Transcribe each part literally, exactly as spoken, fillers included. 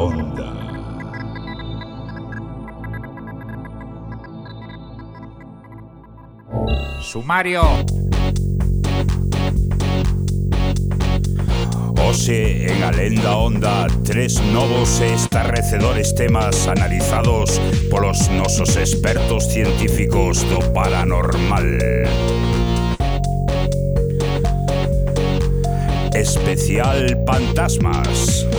Onda. Sumario. Hoxe en A Lenda Onda, tres novos e estarrecedores temas analizados polos nosos expertos científicos do paranormal. Especial Fantasmas.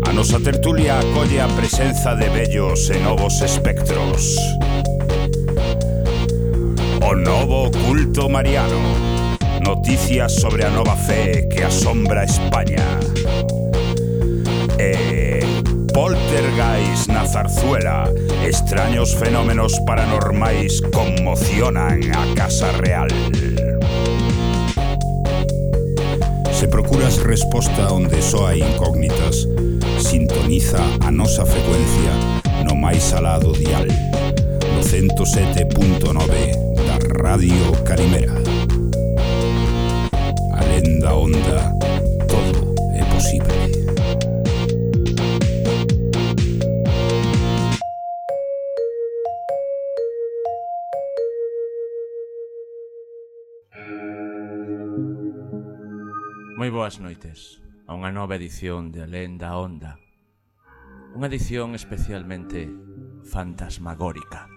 A nosa tertulia acolle a presenza de vellos e novos espectros. O novo culto mariano. Noticias sobre a nova fe que asombra España. E poltergeist na Zarzuela. Extraños fenómenos paranormais conmocionan a Casa Real. Se procuras resposta onde só hai incógnitas, sintoniza a nosa frecuencia no máis alado dial, no ciento sete punto nove da Radio Calimera. A Lenda Onda, todo é posible. Moi boas noites a unha nova edición de A Lenda Onda. Unha edición especialmente fantasmagórica,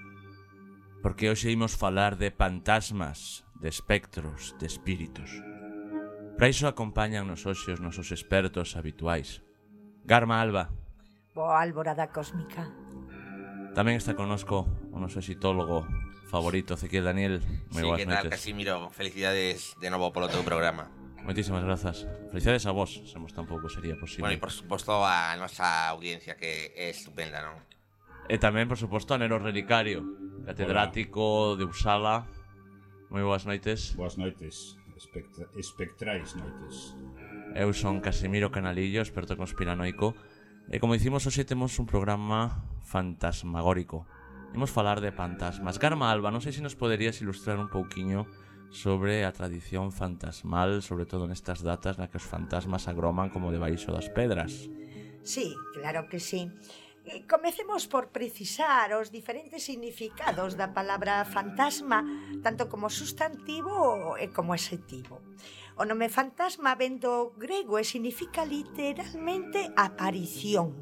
porque hoxe imos falar de fantasmas, de espectros, de espíritus. Para iso acompañan nos hoxe os nosos expertos habituais. Garma Alba. Boa alborada cósmica. Tamén está connosco o noso exitólogo favorito, Ezequiel Daniel. Moi sí, boas que noites. tal, Casimiro? Felicidades de novo polo teu programa. Moitísimas grazas. Felicidades a vos, semos tampouco sería posible. Bueno, e por suposto a nosa audiencia, que é estupenda, non? E tamén, por suposto, a Nero Relicario, catedrático Hola. de Uppsala. Moi boas noites. Boas noites, Espectra espectrais noites. Eu son Casimiro Canalillo, experto conspiranoico. E como dicimos, hoxe temos un programa fantasmagórico. Imos falar de fantasmas. Garma Alba, non sei se nos poderías ilustrar un pouquiño sobre a tradición fantasmal, sobre todo nestas datas na que os fantasmas agroman como debaixo das pedras. Sí, claro que sí. Comecemos por precisar os diferentes significados da palabra fantasma, tanto como sustantivo e como adxetivo. O nome fantasma vén do grego e significa literalmente aparición.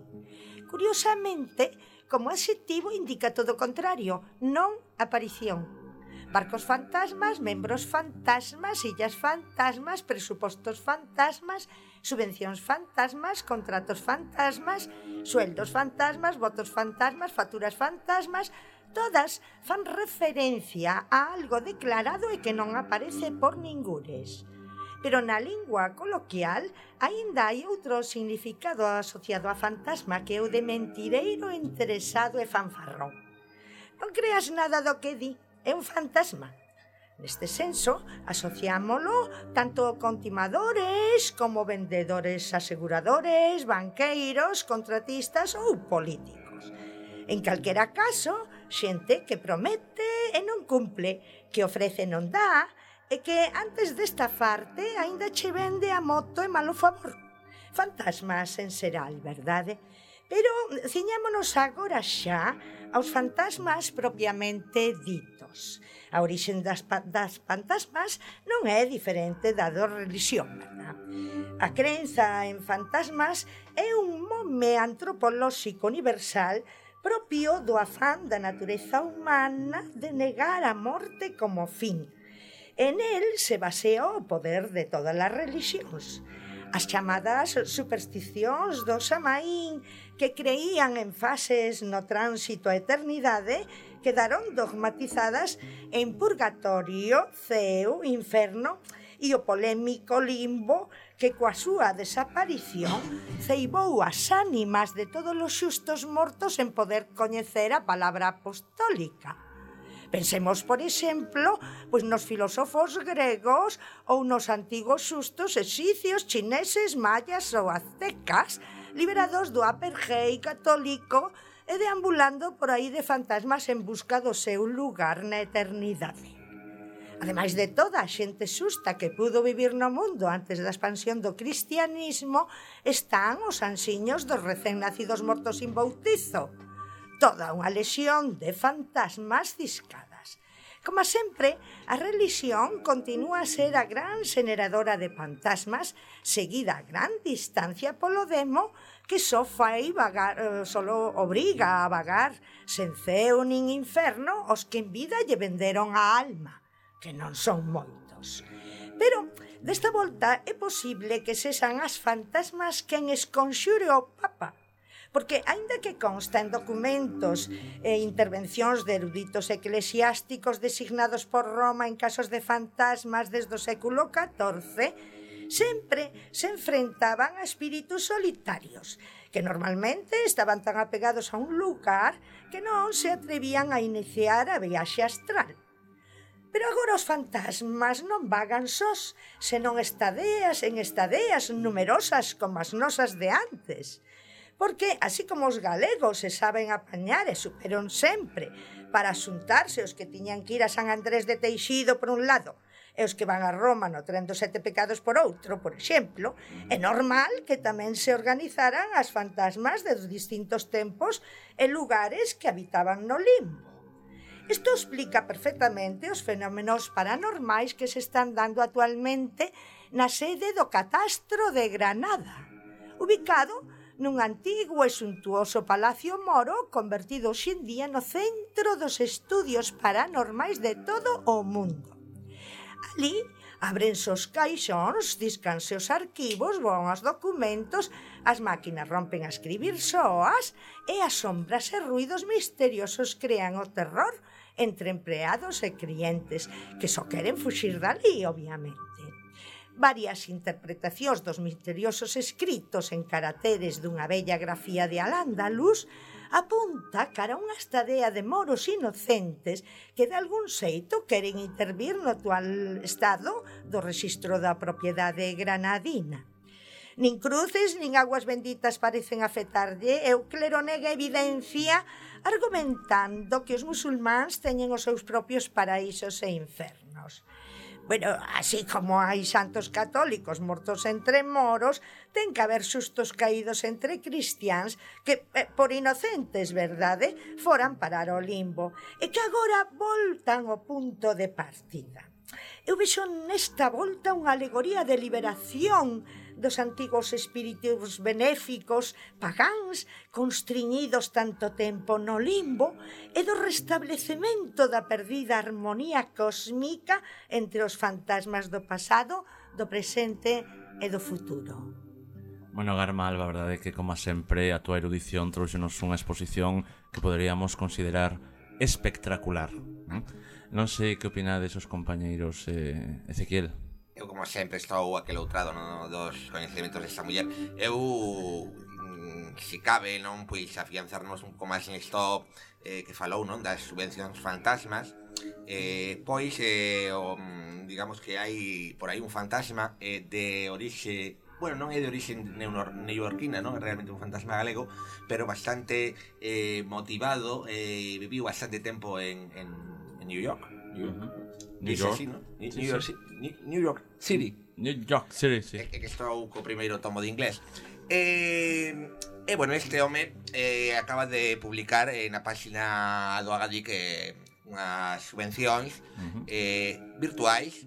Curiosamente, como adxetivo indica todo o contrario, non aparición. Barcos fantasmas, membros fantasmas, illas fantasmas, presupostos fantasmas, subvencións fantasmas, contratos fantasmas, sueldos fantasmas, votos fantasmas, facturas fantasmas, todas fan referencia a algo declarado e que non aparece por ningures. Pero na lingua coloquial aínda hai outro significado asociado a fantasma que é o de mentireiro, interesado e fanfarrón. Non creas nada do que di. É un fantasma. Neste senso, asociámolo tanto con timadores como vendedores aseguradores, banqueiros, contratistas ou políticos. En calquera caso, xente que promete e non cumple, que ofrece e non dá, e que antes desta farte aínda che vende a moto e malo favor. Fantasmas en xeral, verdade? Pero ciñámonos agora xa aos fantasmas propiamente ditos. A orixe das, das fantasmas non é diferente da da religión, verdad? A crenza en fantasmas é un mome antropolóxico universal propio do afán da natureza humana de negar a morte como fin. En el se basea o poder de todas as religións. As chamadas supersticións do Xamaín, que creían en fases no tránsito a eternidade, quedaron dogmatizadas en purgatorio, ceo, inferno e o polémico limbo que coa súa desaparición ceibou as ánimas de todos os xustos mortos en poder coñecer a palabra apostólica. Pensemos, por exemplo, pois nos filósofos gregos ou nos antigos xustos exicios, chineses, mayas ou aztecas, liberados do apartheid católico e deambulando por aí de fantasmas en busca do seu lugar na eternidade. Ademais de toda a xente xusta que pudo vivir no mundo antes da expansión do cristianismo, están os ansiños dos recén nacidos mortos sin bautizo. Toda unha lexión de fantasmas ciscadas. Como sempre, a relixión continúa a ser a gran xeneradora de fantasmas, seguida a gran distancia polo demo, que só fai vagar, eh, solo obriga a vagar, sen ceo nin inferno, os que en vida lle venderon a alma, que non son moitos. Pero, desta volta, é posible que sexan as fantasmas quen esconxure o Papa, porque, aínda que consta en documentos e intervencións de eruditos eclesiásticos designados por Roma en casos de fantasmas desde o século catorce, sempre se enfrentaban a espíritus solitarios, que normalmente estaban tan apegados a un lugar que non se atrevían a iniciar a viaxe astral. Pero agora os fantasmas non vagan sós, senón estadeas en estadeas numerosas como as nosas de antes. Porque, así como os galegos se saben apañar e superon sempre para asuntarse os que tiñan que ir a San Andrés de Teixido por un lado e os que van a Roma no tren dos sete pecados por outro, por exemplo, é normal que tamén se organizaran as fantasmas de distintos tempos e lugares que habitaban no limbo. Isto explica perfectamente os fenómenos paranormais que se están dando actualmente na sede do Catastro de Granada, ubicado nun antigo e suntuoso palacio moro convertido hoxe en día no centro dos estudios paranormais de todo o mundo. Ali abrense os caixóns, discanse os arquivos, voan os documentos, as máquinas rompen a escribir soas e as sombras e ruidos misteriosos crean o terror entre empleados e clientes que só queren fuxir dali, obviamente. Varias interpretacións dos misteriosos escritos en caracteres dunha bella grafía de Al-Ándalus apunta cara a unha estadea de moros inocentes que de algún xeito queren intervir no actual estado do rexistro da propiedade granadina. Nin cruces nin aguas benditas parecen afectarlle e o clero nega evidencia argumentando que os musulmáns teñen os seus propios paraísos e infernos. Bueno, así como hai santos católicos mortos entre moros, ten que haber sustos caídos entre cristiáns que, eh, por inocentes, verdade, foran parar ao limbo e que agora voltan ao punto de partida. Eu vexo nesta volta unha alegoría de liberación dos antigos espíritus benéficos pagáns constriñidos tanto tempo no limbo e do restablecemento da perdida armonía cósmica entre os fantasmas do pasado, do presente e do futuro. Bueno, Garma Alba, a verdade é que, como sempre, a tua erudición trouxenos unha exposición que poderíamos considerar espectacular. Non, non sei que opinades os compañeiros, eh, Ezequiel. Eu, como sempre, estou aqueloutrado no, dos coñecementos desta muller. Eu, mm, se cabe, non, pois afianzarnos un pouco máis nisto eh, que falou, non, das subvencións fantasmas. Eh, pois, eh, o, digamos que hai por aí un fantasma eh, de orixe... Bueno, non é de orixe neoyorquina, non? É realmente un fantasma galego, pero bastante eh, motivado, eh, viviu bastante tempo en, en, en New York. New York. Uh-huh. New York. Así, ¿no? New, sí, New, York, sí. New York City. New York City, sí. É que estou co primeiro tomo de inglés. E, e bueno, este home eh, acaba de publicar eh, na página do Agadic eh, unhas subvencións uh-huh. eh, virtuais,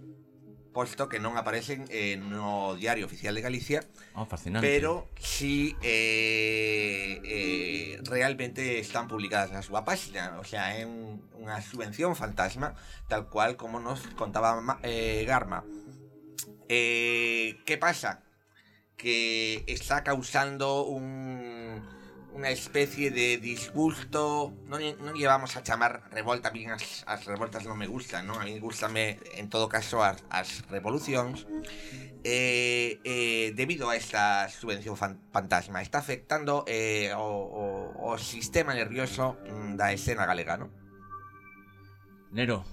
posto que non aparecen eh, no Diario Oficial de Galicia. Oh, fascinante. Pero sí eh, eh, realmente están publicadas na súa página. O sea, é un, unha subvención fantasma, tal cual como nos contaba eh, Garma. Eh, que pasa? Que está causando un... unha especie de disgusto. Non, non llevamos a chamar revolta, a mí as, as revoltas non me gustan, non? A mí gustame, en todo caso, as, as revolucións. Eh, eh, debido a esta subvención fan, fantasma, está afectando eh, o, o, o sistema nervioso da escena galega, non? Nero,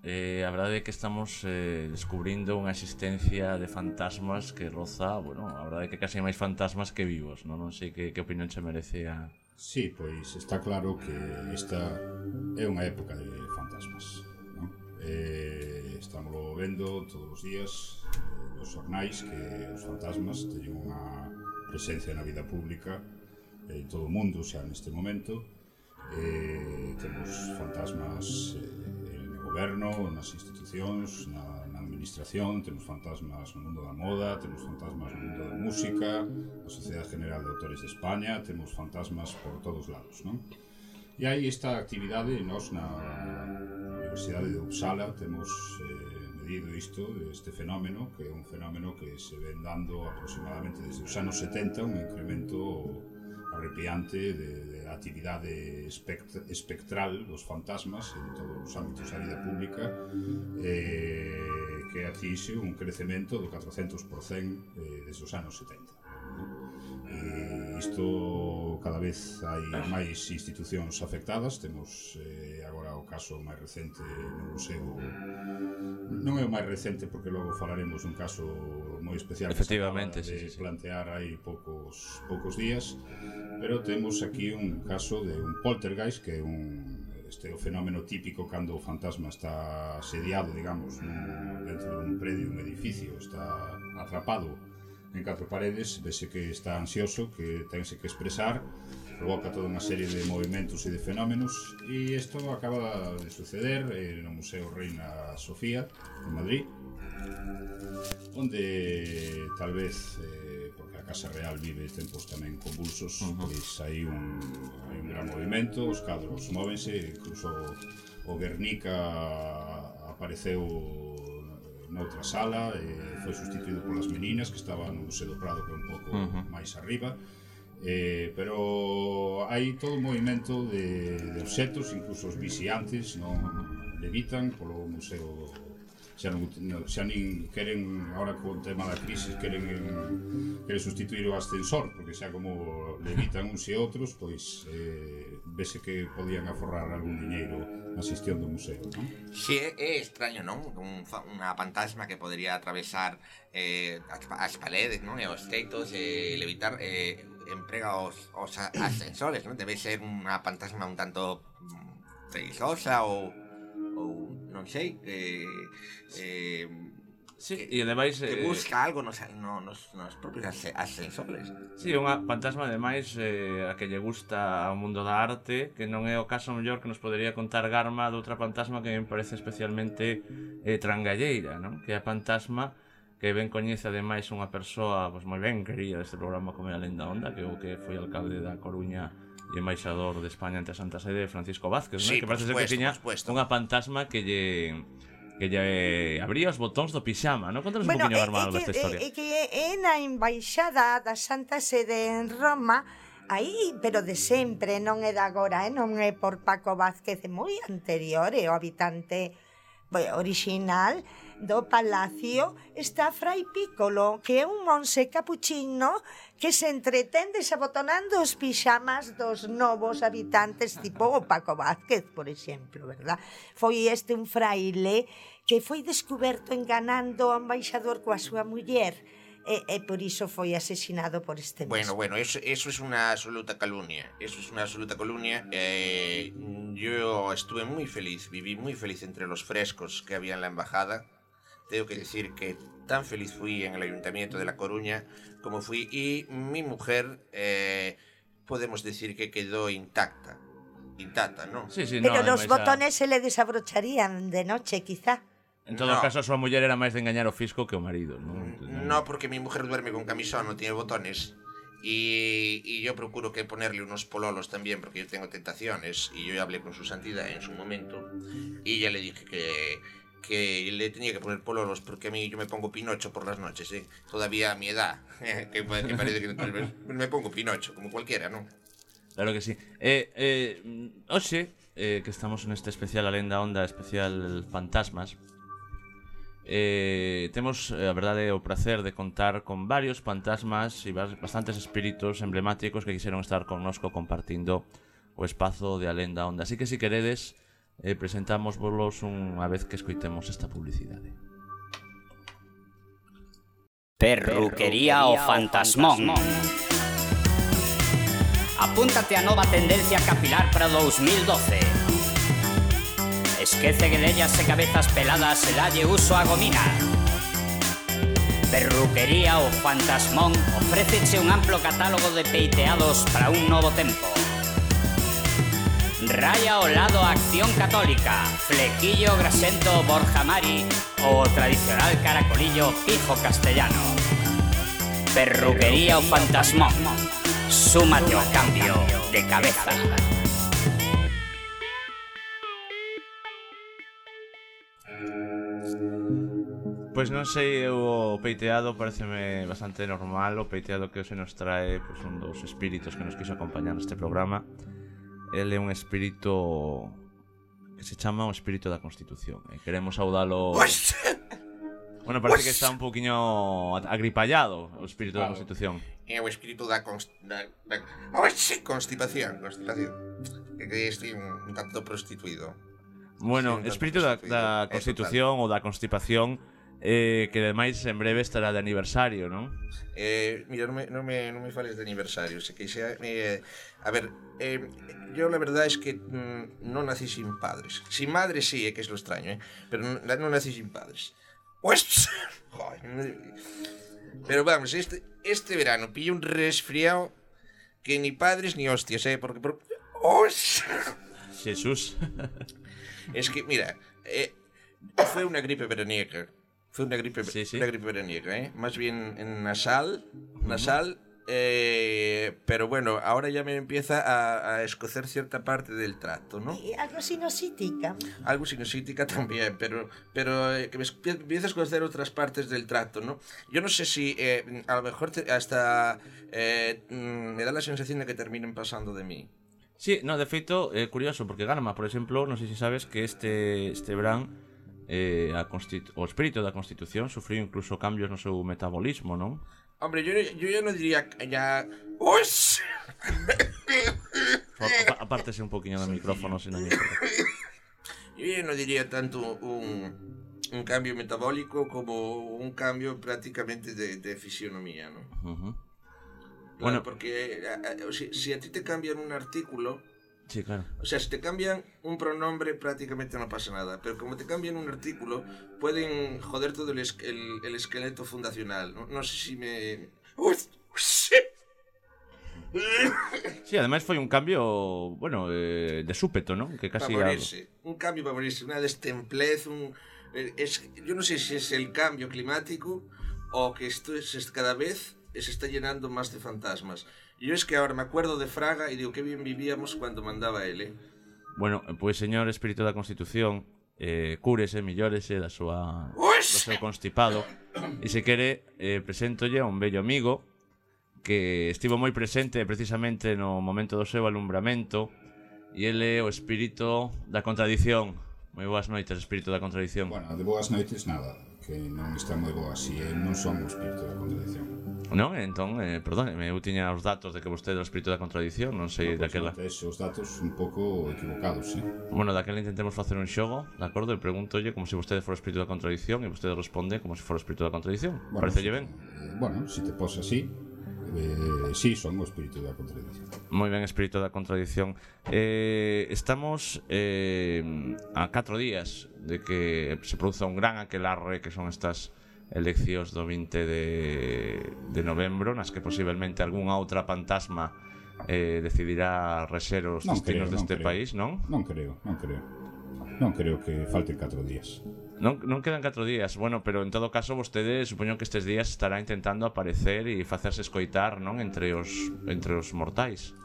eh, a verdade é que estamos eh, descubrindo unha existencia de fantasmas que roza, bueno, a verdade é que casi máis fantasmas que vivos, non? Non sei que, que opinión se merece a... Sí, pois está claro que esta é unha época de fantasmas, non? Eh, estamos vendo todos os días eh, nos xornais que os fantasmas teñen unha presencia na vida pública en todo o mundo xa neste momento. Eh, temos fantasmas eh, no goberno, nas institucións, na, na administración, temos fantasmas no mundo da moda, temos fantasmas no mundo da música, na Sociedade General de Autores de España, temos fantasmas por todos lados, non? E hai esta actividade, nós na Universidade de Uppsala temos eh, medido isto, este fenómeno, que é un fenómeno que se ven dando aproximadamente desde os anos setenta, un incremento arrepiante de, de actividade espect espectral dos fantasmas en todos os ámbitos da vida pública, eh, que atinxe un crecemento do catrocentos por cento eh, desde os anos setenta. E isto cada vez hai máis institucións afectadas. Temos eh, agora o caso máis recente no museo, non é o máis recente porque logo falaremos dun caso moi especial que se acaba de sí, sí, sí. plantear hai poucos, poucos días, pero temos aquí un caso de un poltergeist, que é un este é o fenómeno típico cando o fantasma está asediado, digamos, nun, dentro dun predio, un edificio, está atrapado en catro paredes, vese que está ansioso, que tense que expresar, provoca toda unha serie de movimentos e de fenómenos, e isto acaba de suceder eh, no Museo Reina Sofía, en Madrid, onde tal vez, eh, porque a Casa Real vive tempos tamén convulsos, uh -huh. pois hai un, hai un gran movimento, os cadros móvense, incluso o Guernica apareceu noutra sala, eh, foi sustituído polas meninas que estaban no Museo do Prado, que é un pouco uh -huh. máis arriba, eh, pero hai todo un movimento de, de obxetos, incluso os vixiantes non levitan polo museo, xa, non, xa nin queren, agora con o tema da crisis, queren, queren sustituir o ascensor, porque xa como levitan uns e outros, pois eh, vese que podían aforrar algún diñeiro na xestión do museo, non? Si, é, é extraño, non? Un, unha fantasma que podería atravesar eh, as, as paredes, non? E os teitos, e eh, levitar, eh, emprega os, os ascensores, non? Debe ser unha fantasma un tanto perigosa ou, ou non sei, eh, eh, sí, que, e ademais que eh, busca algo nos, no, nos, nos propios ascensores. Sí, unha fantasma ademais eh, a que lle gusta ao mundo da arte, que non é o caso mellor que nos podería contar Garma de outra fantasma que me parece especialmente eh, trangalleira, non? Que é a fantasma que ben coñece ademais unha persoa pois, moi ben querida deste programa como é a Lenda Onda, que é o que foi alcalde da Coruña e embaixador de España ante a Santa Sede, Francisco Vázquez, sí, non? Que parece ser que tiña unha fantasma que lle que lle abría os botóns do pixama, non? Contanos bueno, un poquinho, Garma, esta historia. É que é na embaixada da Santa Sede en Roma, aí, pero de sempre, non é de agora, eh? Non é por Paco Vázquez, é moi anterior, é o habitante original do palacio, está Fray Piccolo, que é un monse capuchino que se entretén desabotonando os pixamas dos novos habitantes, tipo o Paco Vázquez, por exemplo, verdad? Foi este un fraile que foi descuberto enganando ao embaixador coa súa muller, e, e por iso foi asesinado por este mesmo. Bueno, bueno, eso, eso es una absoluta calumnia, eso es una absoluta calumnia. Eh, yo estuve muy feliz, viví muy feliz entre los frescos que había en la embajada. Tengo que decir que tan feliz fui en el Ayuntamiento de La Coruña como fui, y mi mujer, eh, podemos decir que quedó intacta, intacta, ¿no? Sí, sí, pero no, los botones a... se le desabrocharían de noche, quizá. En todo no. caso, a súa muller era máis de engañar o fisco que o marido, non? No, porque mi mujer duerme con camisón, no tiene botones. Y, y yo procuro que ponerle unos pololos también, porque yo tengo tentaciones. Y yo ya hablé con su santidad en su momento, y ya le dije que, que le tenía que poner pololos, porque a mí yo me pongo Pinocho por las noches, ¿eh? Todavía a mi edad, ¿eh? que, que parece que me pongo Pinocho, como cualquiera, ¿no? Claro que sí. Eh, eh, oxe, eh, que estamos neste especial A Lenda Onda, especial Fantasmas, Eh, temos a verdade o prazer de contar con varios fantasmas e bastantes espíritos emblemáticos que quixeron estar connosco compartindo o espazo de A Lenda Onda. Así que se queredes, eh, presentámosvos unha vez que escoitemos esta publicidade. Perruquería o Fantasmón. Apúntate a nova tendencia capilar para dous mil doce. esquece que dellas e cabezas peladas se dalle uso a gomina. Perruquería O Fantasmón ofréceche un amplo catálogo de peiteados para un novo tempo. Raya ao lado Acción Católica, flequillo grasento Borja Mari ou o tradicional caracolillo Pijo Castellano. Perruquería O Fantasmón, súmate ao cambio de cabeza. Pois non sei, o peiteado pareceme bastante normal. O peiteado que hoxe nos trae pois, un dos espíritos que nos quiso acompañar neste programa. Ele é un espírito que se chama o espírito da Constitución e queremos saudalo. Bueno, parece que está un poquinho agripallado o espírito da Constitución. É o espírito da constipación, constipación. Que estou un tanto prostituído. Bueno, espírito da, da Constitución ou da constipación, eh, que ademais en breve estará de aniversario, non? Eh, mira, non me, non me, non me fales de aniversario, se que xa, eh, a ver, eh, yo la verdad es que mm, non nací sin padres. Sin madre sí, é que es lo extraño, eh, pero non, non nací sin padres. Pues, joder, pero vamos, este, este verano pillé un resfriado que ni padres ni hostias, eh, porque... porque ¡oh! Jesús. Es que, mira, eh, fue una gripe veraniega. Fue una gripe, sí, sí. Una gripe veraniega, ¿eh? Más bien en nasal, nasal, eh, pero bueno, ahora ya me empieza a, a escocer cierta parte del tracto, ¿no? Y algo sinusítica. Algo sinusítica también, pero, pero eh, que me empieza a escocer otras partes del tracto, ¿no? Yo no sé si eh, a lo mejor te, hasta eh, me da la sensación de que terminen pasando de mí. Sí, no, de feito, é eh, curioso, porque Garma, por exemplo, non sei se sabes que este, este verán eh, a o espírito da Constitución sufriu incluso cambios no seu metabolismo, non? Hombre, yo, yo ya no diría ya... ¡Ush! Apártese un poquinho do micrófono, se non me importa. Yo ya no diría tanto un, un cambio metabólico como un cambio prácticamente de, de fisionomía, ¿no? Uh-huh. Claro, bueno, porque o sea, si a ti te cambian un artículo, sí, claro. O sea, si te cambian un pronombre prácticamente no pasa nada, pero como te cambian un artículo pueden joder todo el, es el, el esqueleto fundacional. No, no sé si me... Uy, sí, además foi un cambio, bueno, eh, de súpeto, ¿no? Que casi para morirse, algo... un cambio para morirse, una destemplez, un... Es, yo no sé si es el cambio climático o que esto es cada vez... se está llenando más de fantasmas. Yo es que ahora me acuerdo de Fraga y digo que bien vivíamos cuando mandaba él, eh? Bueno, pois, señor espírito da Constitución, eh, cúrese, millórese da súa do seu constipado, e se quere, eh, preséntolle a un bello amigo que estivo moi presente precisamente no momento do seu alumbramento, e ele é o espírito da contradición. Moi boas noites, espírito da contradición. Bueno, de boas noites nada, que non está moi boas, e eu non son o espírito da contradición. Non, entón, eh, perdón, eu tiña os datos de que vostede é o espírito da contradición, non sei no, daquela. Pois os datos un pouco equivocados, eh? Bueno, daquela intentemos facer un xogo, de acordo? E pregúntolle como se vostede fora o espírito da contradición e vostede responde como se fora o espírito da contradición. Bueno, parecelle ben? Eh, bueno, se te pos así, eh, sí, son o espírito da contradición. Moi ben, espírito da contradición. Eh, estamos eh, a catro días de que se produza un gran aquelarre que son estas eleccións do vinte de, de novembro, nas que posiblemente algunha outra fantasma eh, decidirá rexer os non destinos creo, deste non país, non? Non creo, non creo. Non creo que falten catro días. Non, non quedan catro días, bueno, pero en todo caso vostede supoño que estes días estará intentando aparecer e facerse escoitar, non? Entre os, entre os mortais.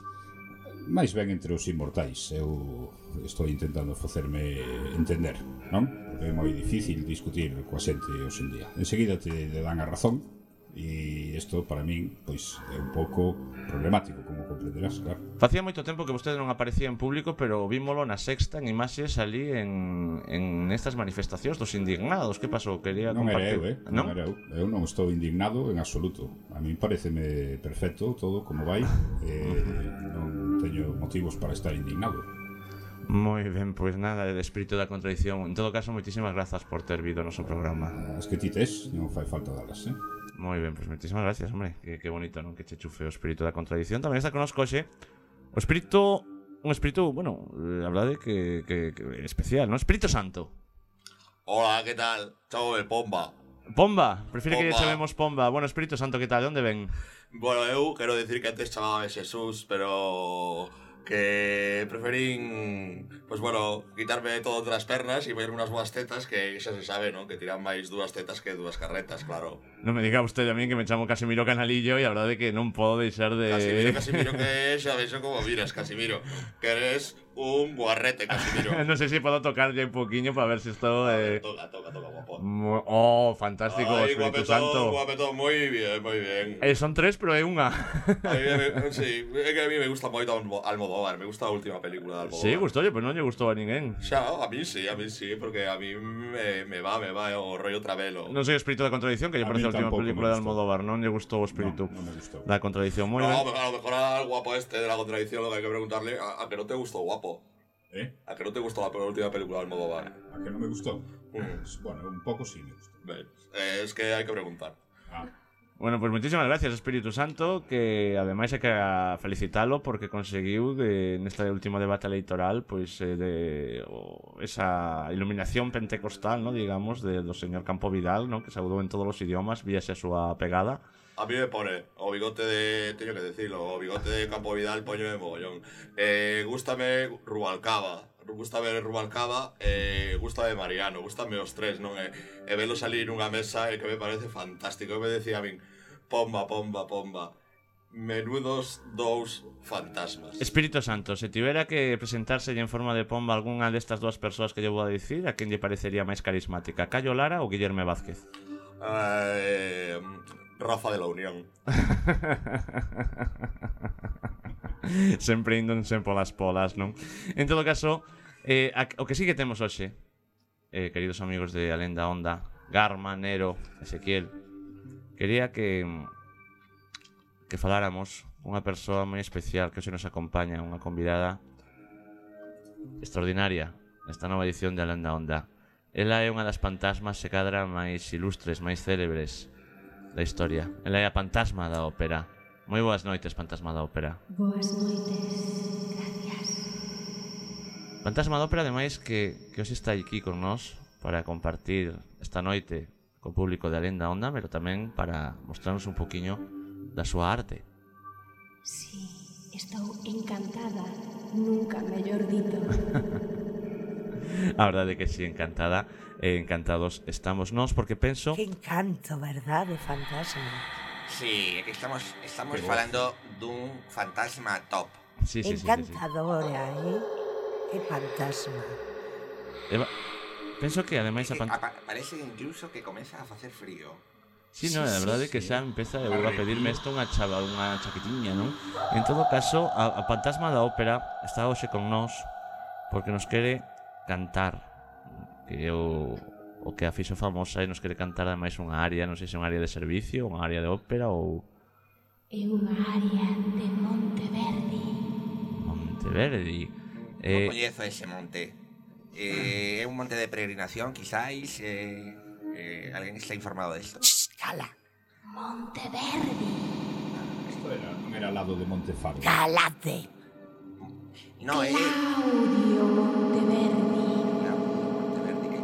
máis ben entre os inmortais. Eu estou intentando facerme entender, non? Porque é moi difícil discutir coa xente hoxe en día. Enseguida te, te dan a razón, e isto para min pois é un pouco problemático, como comprenderás, claro. Facía moito tempo que vostede non aparecía en público, pero vímolo na Sexta en imaxes ali en, en estas manifestacións dos indignados. Que pasou? Quería non compartir. era eu, eh? Non? non era eu. Eu non estou indignado en absoluto. A mí pareceme perfecto todo como vai. Eh, non teño motivos para estar indignado. Moi ben, pois nada, de espírito da contradición. En todo caso, moitísimas grazas por ter vido o noso programa. As que ti tes, non fai falta dalas, eh? Moi ben, pois moitísimas gracias, hombre. Que, que bonito, non? Que che chufe o espírito da contradición. Tamén está connosco hoxe o espírito un espírito, bueno, a verdade que, que, que especial, non? Espírito Santo. Hola, ¿qué tal? Chamo de Pomba. Pomba, prefire que lle Pomba. chamemos Pomba. Bueno, Espírito Santo, que tal? De onde ven? Bueno, eu quero decir que antes chamábame Jesús, pero que preferín, pues bueno, quitarme todo das pernas e ver unhas boas tetas que xa se sabe, ¿no? Que tiran máis dúas tetas que dúas carretas, claro. Non me diga usted a mí que me chamo Casimiro Canalillo e a verdade que non podo deixar de... Casimiro, Casimiro, que xa vexo como miras, Casimiro. Que eres un guarrete, Casimiro. non sei se podo tocarlle un poquinho para ver se estou... Eh... Toca, toca, toca, guapo. Mo- Oh, fantástico, Ay, Espírito guapetón, Santo. guapetón, moi bien, moi bien. Eh, son tres, pero é unha. A mí, me, sí, é que a mí me gusta moito Almodóvar, me gusta a última película de Almodóvar. Sí, gustoulle, pero non lle gustou a ninguén. Xa, a mí sí, a mí sí, porque a mí me, me va, me va o rollo Travelo. Non sei o espírito da contradición, que lle A parece a mí última tampouco película me de gustou. Almodóvar. Non lle gustou o espírito No, non me gustou. da contradición. Moi No, ben. pero a lo mejor al guapo este de la contradicción lo que hay que preguntarle a, a que no te gustó guapo. Eh? A que no te gustó la última película de Almodóvar. A que non me gustou? Mm. Pues, bueno, un pouco sí me gustou. Ves, eh, es que hay que preguntar. Ah. Bueno, pues muchísimas gracias, Espírito Santo, que ademais hai que felicitalo porque conseguiu de, neste último debate electoral pois eh, de o, esa iluminación pentecostal, ¿no? Digamos, de, do señor Campo Vidal, ¿no? Que saudou en todos os idiomas, víase a súa pegada. A mí me pone o bigote de... Teño que decirlo, o bigote de Campo Vidal, poño de mogollón. Eh, gústame Rubalcaba. Gústame Rubalcaba, eh, gústame Mariano, gústame os tres, non? E, e velo salir nunha mesa e que me parece fantástico. E me decía a min, pomba, pomba, pomba. Menudos dous fantasmas. Espírito Santo, se tivera que presentarse en forma de pomba algunha destas dúas persoas que lle vou a dicir, a quen lle parecería máis carismática, Cayo Lara ou Guillerme Vázquez? Eh, Rafa de la Unión. Sempre indo sempre polas polas, non? En todo caso, eh, a, o que sí que temos hoxe, eh, queridos amigos de Alén da Onda, Garma, Nero, Ezequiel, quería que que faláramos unha persoa moi especial que hoxe nos acompaña, unha convidada extraordinaria nesta nova edición de Alén da Onda. Ela é unha das fantasmas se cadra máis ilustres, máis célebres da historia. Ela é a fantasma da ópera. Moi boas noites, fantasma da ópera. Boas noites, gracias. Fantasma da ópera, ademais, que, que hoxe está aquí con nós para compartir esta noite co público de Alén da Onda, pero tamén para mostrarnos un poquinho da súa arte. Sí, estou encantada, nunca mellor dito. A verdade que sí, encantada e encantados estamos nós, porque penso... Que encanto, verdade, fantasma. Sí, é que estamos, estamos falando dun fantasma top. Sí, sí, sí, sí, sí. Encantadora, eh? Que fantasma. Eva, penso que ademais a Que fantasma... apa- parece incluso que comeza a facer frío. Sí, non, a verdade é que xa empeza eu a pedirme isto unha chava, unha chaquetiña, non? En todo caso, a, a fantasma da ópera está hoxe con nós porque nos quere cantar, que é o, o que a fixo famosa e nos quere cantar ademais unha área, non sei se é unha área de servicio, unha área de ópera ou É unha área de Monteverdi. Monteverdi. Non Eh, coñezo ese monte. Eh, é un monte de peregrinación, quizáis. Eh, eh, alguén está informado desto. Cala, Monteverdi. Isto era, non era ao lado de Montefardo. calate. No, é... Claudio Monteverdi.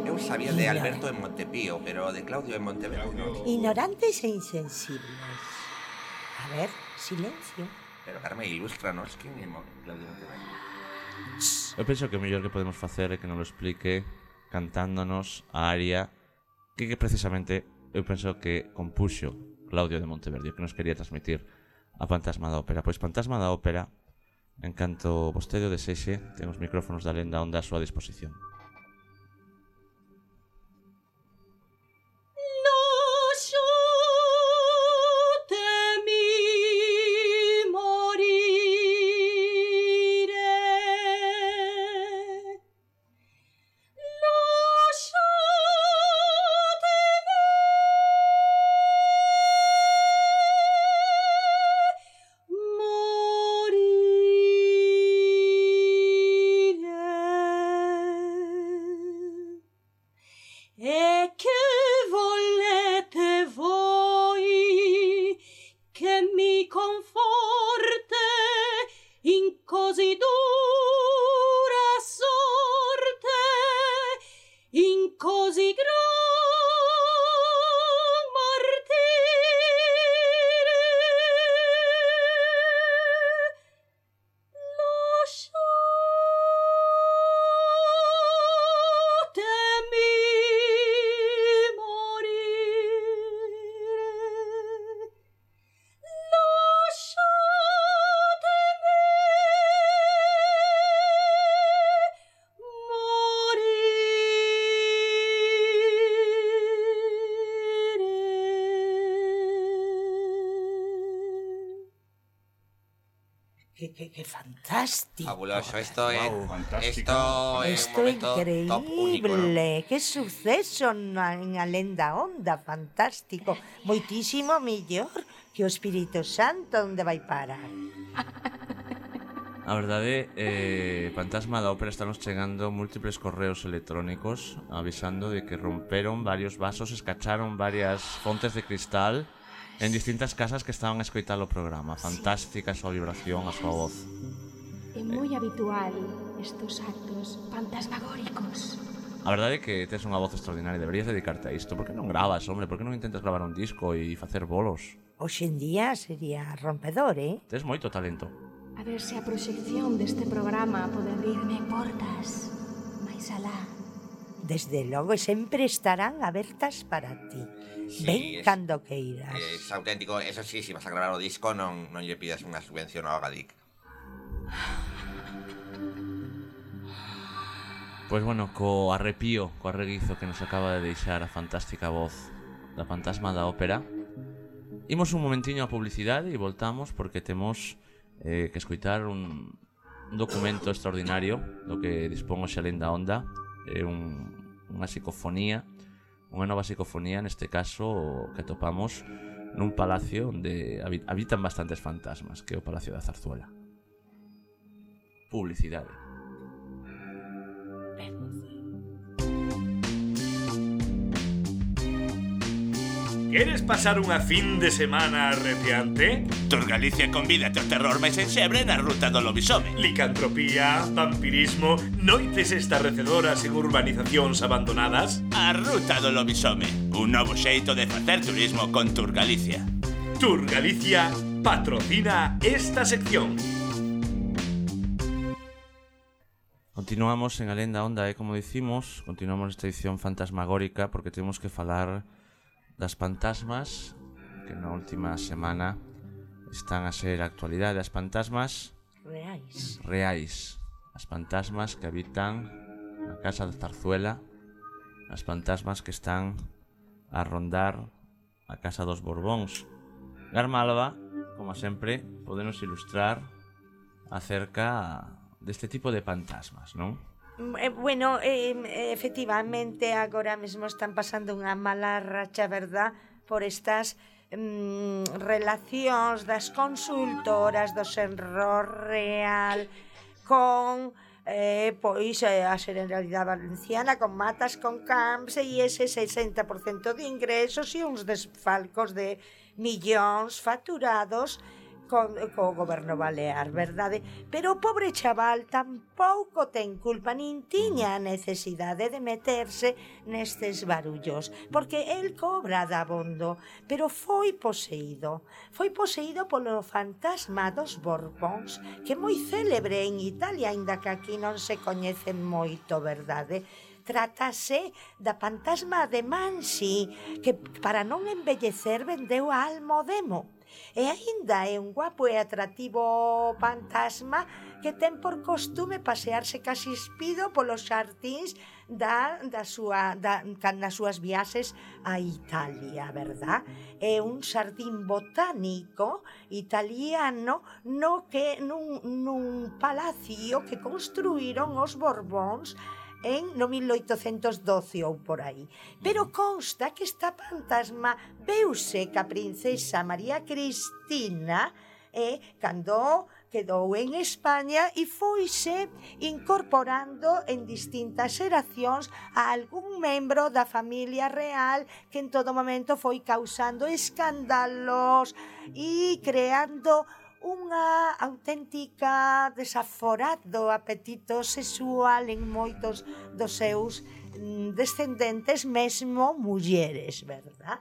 Eu sabía de Alberto en Montepío, pero de Claudio en Monteverdi non. Ignorantes e insensibles. A ver, silencio. Pero Carmen, ilústranos, quen é Mo- Claudio Monteverdi? eu penso que o mellor que podemos facer é que nos lo explique cantándonos a área que, que precisamente eu penso que compuxo Claudio de Monteverdi, o que nos quería transmitir a Fantasma da Ópera. Pois Fantasma da Ópera, en canto vostede o desexe, ten os micrófonos da Alén da Onda a súa disposición. Que, que, que fantástico. Fabuloso, esto es, Wow, fantástico. esto es Esto un é momento top único, ¿no? increíble, que suceso na, en a lenda onda, fantástico. Moitísimo mellor que o Espírito Santo onde vai parar. A verdade, eh, Fantasma da Ópera estanos chegando múltiples correos electrónicos avisando de que romperon varios vasos, escacharon varias fontes de cristal en distintas casas que estaban a escoitar o programa. Fantástica a súa vibración, a súa voz. É moi habitual estos actos fantasmagóricos. A verdade é que tes unha voz extraordinaria, deberías dedicarte a isto. Por que non gravas, hombre? Por que non intentas gravar un disco e facer bolos? Hoxe en día sería rompedor, eh? Tes moito talento. A ver se a proxección deste programa pode abrirme portas máis alá. Desde logo sempre estarán abertas para ti. Sí, Ven es- cando queiras. Es auténtico, eso sí, si vas a grabar o disco non, non lle pidas unha subvención ao Agadic. Pois bueno, co arrepío, co arreguizo que nos acaba de deixar a fantástica voz da Fantasma da Ópera, imos un momentiño a publicidade e voltamos porque temos eh, que escoitar un, un documento extraordinario do que dispón hoxe a Lenda Onda. É un, unha psicofonía, unha nova psicofonía, neste caso que atopamos nun palacio onde habi- habitan bastantes fantasmas, que é o Palacio da Zarzuela. Publicidade. Queres pasar unha fin de semana arrepiante? Tour Galicia convídate ao terror máis enxebre na ruta do lobisome. Licantropía, vampirismo, noites estarrecedoras en urbanizacións abandonadas? A ruta do lobisome, un novo xeito de facer turismo con Tour Galicia. Tour Galicia patrocina esta sección. Continuamos en a Lenda Onda e como dicimos, continuamos esta edición fantasmagórica porque temos que falar das fantasmas que na última semana están a ser a actualidade, as fantasmas Reais. reais, as fantasmas que habitan a casa da Zarzuela, as fantasmas que están a rondar a casa dos Borbóns. Garma Alba, como sempre, podenos ilustrar acerca deste tipo de fantasmas, non? Eh, bueno, eh, efectivamente agora mesmo están pasando unha mala racha, verdad, por estas mm, relacións das consultoras do Senro Real con eh, pois eh, a Generalidade Valenciana, con Matas, con Camps e ese sesenta por cento de ingresos e uns desfalcos de millóns facturados con, co goberno balear, verdade? Pero o pobre chaval tampouco ten culpa, nin tiña a necesidade de meterse nestes barullos, porque el cobra dabondo, pero foi poseído. Foi poseído polo fantasma dos Borbóns, que é moi célebre en Italia, aínda que aquí non se coñecen moito, verdade? Trátase da fantasma de Mansi, que para non envellecer vendeu a Almodemo. E aínda é un guapo e atractivo fantasma que ten por costume pasearse casi espido polos xardíns da, da súa, da, nas súas viaxes a Italia, verdad? É un xardín botánico italiano no que nun, nun palacio que construíron os Borbóns en no mil oitocentos doce ou por aí. Pero consta que esta fantasma veuse ca princesa María Cristina e eh, cando quedou en España e foise incorporando en distintas xeracións a algún membro da familia real que en todo momento foi causando escándalos e creando unha auténtica desaforado apetito sexual en moitos dos seus descendentes, mesmo mulleres, verdad?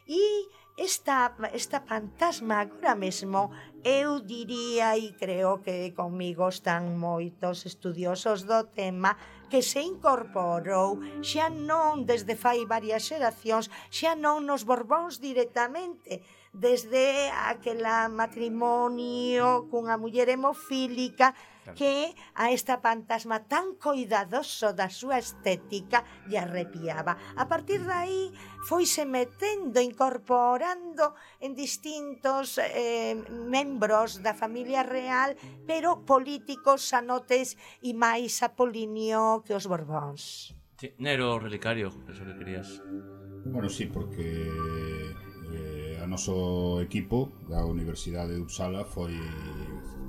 E esta, esta fantasma agora mesmo, eu diría, e creo que comigo están moitos estudiosos do tema, que se incorporou xa non desde fai varias xeracións, xa non nos Borbóns directamente, desde aquela matrimonio cunha muller hemofílica que a esta fantasma tan coidadoso da súa estética lle arrepiaba. A partir de aí foise metendo, incorporando en distintos eh, membros da familia real, pero políticos, sanotes e máis apolinio que os Borbóns. Sí, Nero relicario, eso que querías. Bueno, sí, porque eh, a noso equipo da Universidade de Uppsala foi,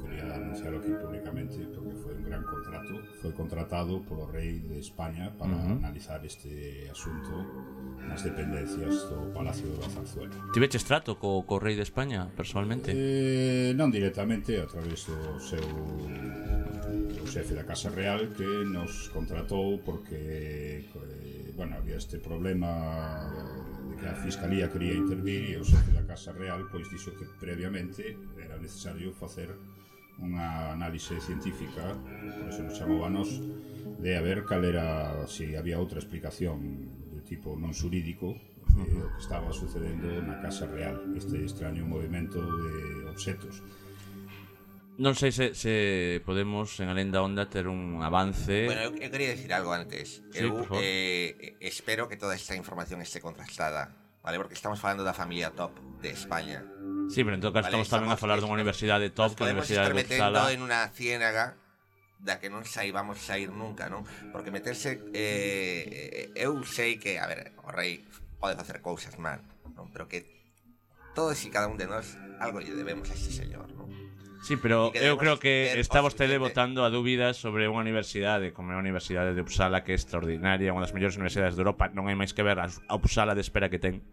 quería anunciarlo aquí públicamente, porque foi un gran contrato, foi contratado polo rei de España para uh-huh. analizar este asunto nas dependencias do Palacio da Zarzuela. Tiveches trato co, co rei de España, personalmente? Eh, non directamente, a través do seu o xefe da Casa Real, que nos contratou porque eh, bueno, había este problema de que a Fiscalía quería intervir e o xefe da Casa Real pois dixo que previamente era necesario facer unha análise científica, por eso nos chamou a nos, de a ver cal era, se si había outra explicación de tipo non xurídico de o que estaba sucedendo na Casa Real, este extraño movimento de obxetos. Non sei se, se podemos en Alén da Onda ter un avance. Bueno, eu, eu quería decir algo antes. Sí, eu eh, espero que toda esta información esté contrastada, vale? Porque estamos falando da familia top de España. Sí, pero en todo caso vale, estamos tamén a falar dunha universidade top, que a Universidade de Uppsala. Podemos estar metendo en unha ciénaga da que non saibamos sair nunca, non? Porque meterse... Eh, eu sei que, a ver, o rei pode facer cousas mal, non? Pero que todos e cada un de nós algo lle debemos a este señor, non? Sí, pero eu creo que está vostede botando a dúbidas sobre unha universidade como é a Universidade de Uppsala, que é extraordinaria, unha das mellores universidades de Europa. Non hai máis que ver a Uppsala de espera que ten.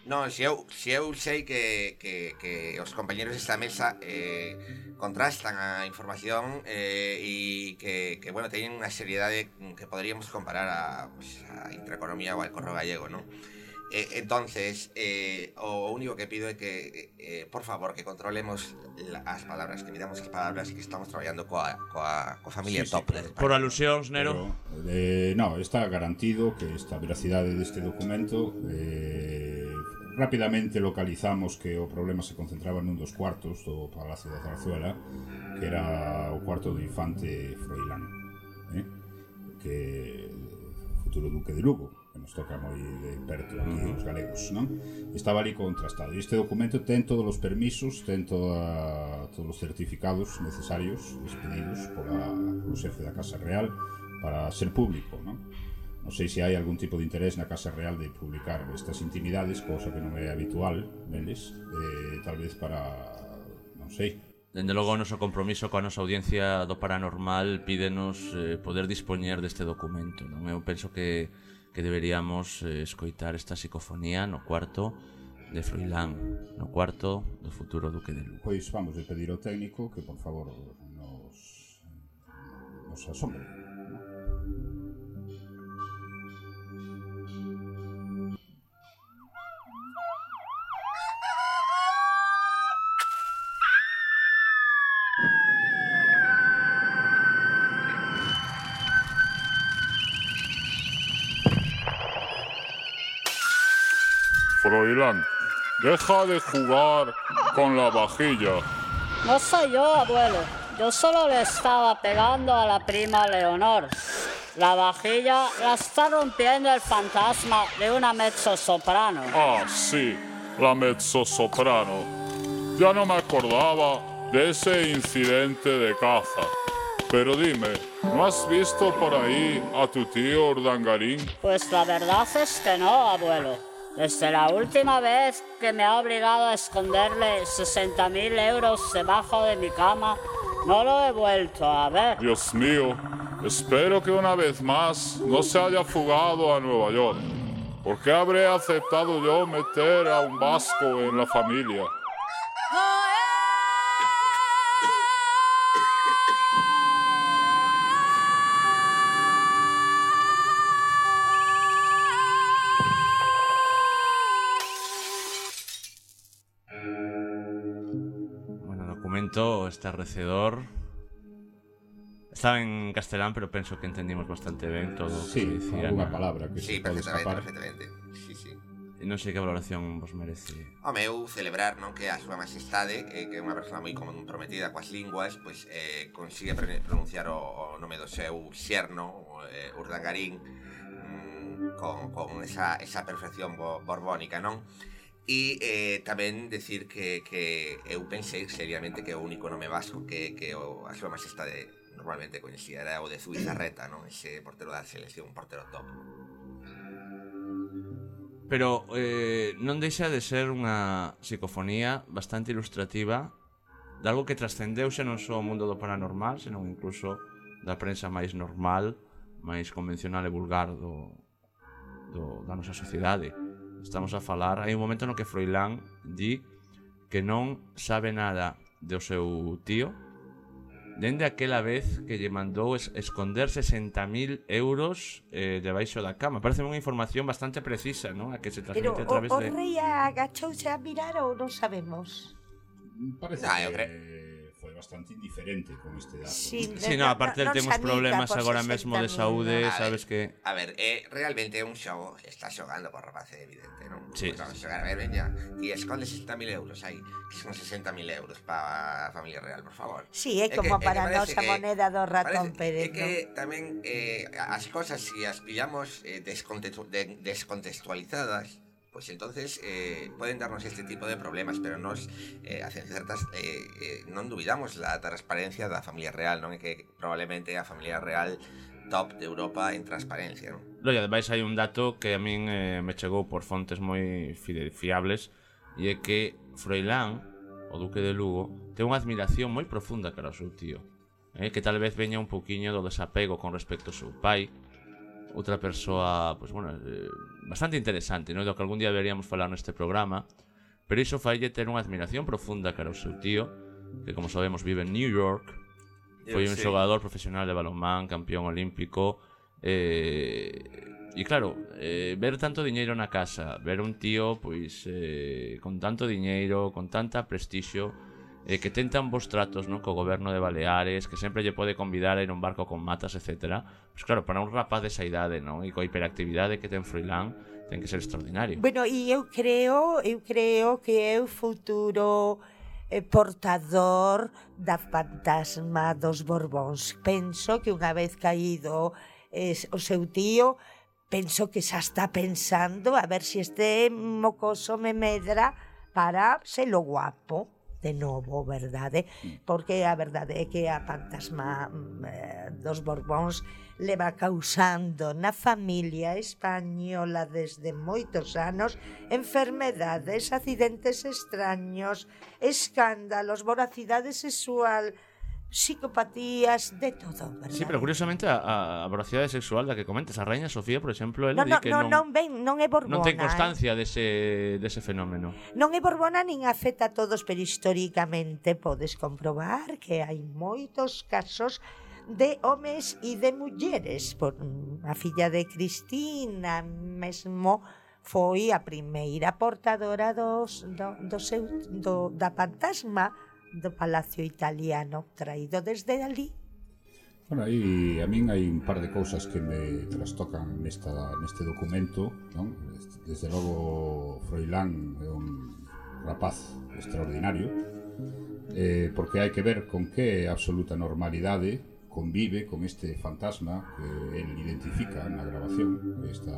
Non, se eu, se eu sei que, que, que os compañeros desta mesa eh, contrastan a información eh, e que, que, bueno, teñen unha seriedade que poderíamos comparar a, pues, a Intereconomía ou al Correo Gallego, non? Eh, entonces, eh, o único que pido é que, eh, por favor, que controlemos la, as palabras, que midamos as palabras e que estamos traballando coa, coa, coa familia sí, top. Sí, claro. Por alusións, Nero? Pero, eh, no, está garantido que esta veracidade deste documento eh, rapidamente localizamos que o problema se concentraba nun dos cuartos do Palacio da Zarzuela, que era o cuarto do infante Froilán, eh? que futuro duque de Lugo, que nos toca moi de perto aquí os galegos, non? Estaba ali contrastado. E este documento ten todos os permisos, ten toda, todos os certificados necesarios expedidos pola, polo xefe da Casa Real para ser público, non? Non sei se hai algún tipo de interés na Casa Real de publicar estas intimidades, cousa que non é habitual neles, eh, tal vez para, non sei. Dende logo o noso compromiso coa nosa audiencia do paranormal pídenos eh, poder dispoñer deste documento, non? Eu penso que que deberíamos eh, escoitar esta psicofonía no cuarto de Froilán, no cuarto do futuro duque de Lugo. Pois vamos a pedir ao técnico que por favor nos, nos asombre. Froilán, deja de jugar con la vajilla. No soy yo, abuelo. Yo solo le estaba pegando a la prima Leonor. La vajilla la está rompiendo el fantasma de una mezzosoprano. Ah, sí, la mezzosoprano. Ya no me acordaba de ese incidente de caza. Pero dime, ¿no has visto por ahí a tu tío Urdangarín? Pues la verdad es que no, abuelo. Desde la última vez que me ha obligado a esconderle sesenta mil euros debajo de mi cama, no lo he vuelto a ver. Dios mío, espero que una vez más no se haya fugado a Nueva York. ¿Por qué habré aceptado yo meter a un vasco en la familia? Estarrecedor. Estaba en castelán, pero penso que entendimos bastante ben todo o sí, que dicía. Alguna palabra que sí, se pode escapar. perfectamente. Sí, sí. non sei que valoración vos merece. Home, eu celebrar, non, que a súa majestade, eh, que é unha persona moi comprometida coas linguas, pois eh, consigue pronunciar o, o nome do seu xerno, eh, Urdangarín, mm, con, con esa, esa perfección bo, borbónica, non? E eh, tamén decir que, que eu pensei seriamente que o único nome vasco que, que o, a súa majestade normalmente coñecía era o de Zubizarreta, non? Ese portero da selección, un portero top. Pero eh, non deixa de ser unha psicofonía bastante ilustrativa de algo que trascendeu xa non só o mundo do paranormal, senón incluso da prensa máis normal, máis convencional e vulgar do, do, da nosa sociedade. Estamos a falar, hai un momento no que Froilán di que non sabe nada do seu tío dende aquela vez que lle mandou es esconder sesenta mil euros eh, debaixo da cama. Parece unha información bastante precisa, non? A que se transmite a través de... de... Pero o rei agachouse a mirar ou non sabemos? Parece ah, que foi bastante indiferente con este dato. Sí, sí, no, aparte no, no temos problemas agora mesmo de saúde, no, sabes que... A ver, eh, realmente é un xogo, está xogando por rapace, evidente, non? Sí. Pues vamos a xogar, a ver, veña, e esconde sesenta mil euros aí, que son sesenta mil euros para a familia real, por favor. Sí, é como que, para a nosa moneda do ratón Pérez, é que ¿no? Tamén eh, as cosas, se si as pillamos eh, descontextu de, descontextualizadas, pues entonces eh, pueden darnos este tipo de problemas, pero nos eh, hacen ciertas eh, eh, non dubidamos la transparencia da familia real, non é que probablemente a familia real top de Europa en transparencia, non? Loia, ademais hai un dato que a min eh, me chegou por fontes moi fiables, e é que Froilán, o duque de Lugo, ten unha admiración moi profunda cara ao seu tío, eh, que tal vez veña un poquinho do desapego con respecto ao seu pai, outra persoa, pues bueno, eh, bastante interesante, ¿no? Do que algún día deberíamos falar neste programa, pero iso faille ter unha admiración profunda cara ao seu tío, que como sabemos vive en New York, foi un sí. xogador profesional de balonmán, campeón olímpico, eh, e claro, eh, ver tanto diñeiro na casa, ver un tío pois eh, con tanto diñeiro, con tanta prestixio, eh, que ten tan bons tratos, non, co goberno de Baleares, que sempre lle pode convidar a ir a un barco con matas, etcétera. Pois claro, para un rapaz desa idade, non, e coa hiperactividade que ten Froilán, ten que ser extraordinario. Bueno, e eu creo, eu creo que é o futuro eh, portador da fantasma dos Borbóns. Penso que unha vez caído eh, o seu tío, penso que xa está pensando a ver se si este mocoso me medra para ser lo guapo de novo, verdade? Porque a verdade é que a fantasma eh, dos Borbóns leva causando na familia española desde moitos anos enfermedades, accidentes extraños, escándalos, voracidade sexual, psicopatías, de todo, verdade? Sí, pero curiosamente a, a voracidade sexual da que comentas, a Raíña Sofía, por exemplo, ela no, di no, que no, non, non, ven, non é borbona, non ten constancia eh? dese, dese fenómeno. Non é borbona nin afecta a todos, pero históricamente podes comprobar que hai moitos casos de homes e de mulleres. Por, a filla de Cristina mesmo foi a primeira portadora dos, do, do seu, do, da fantasma do Palacio Italiano, traído desde ali. Bueno, aí a min hai un par de cousas que me trastocan nesta, neste documento, non? Desde logo Froilán é un rapaz extraordinario, eh, porque hai que ver con que absoluta normalidade convive con este fantasma que él identifica na grabación, esta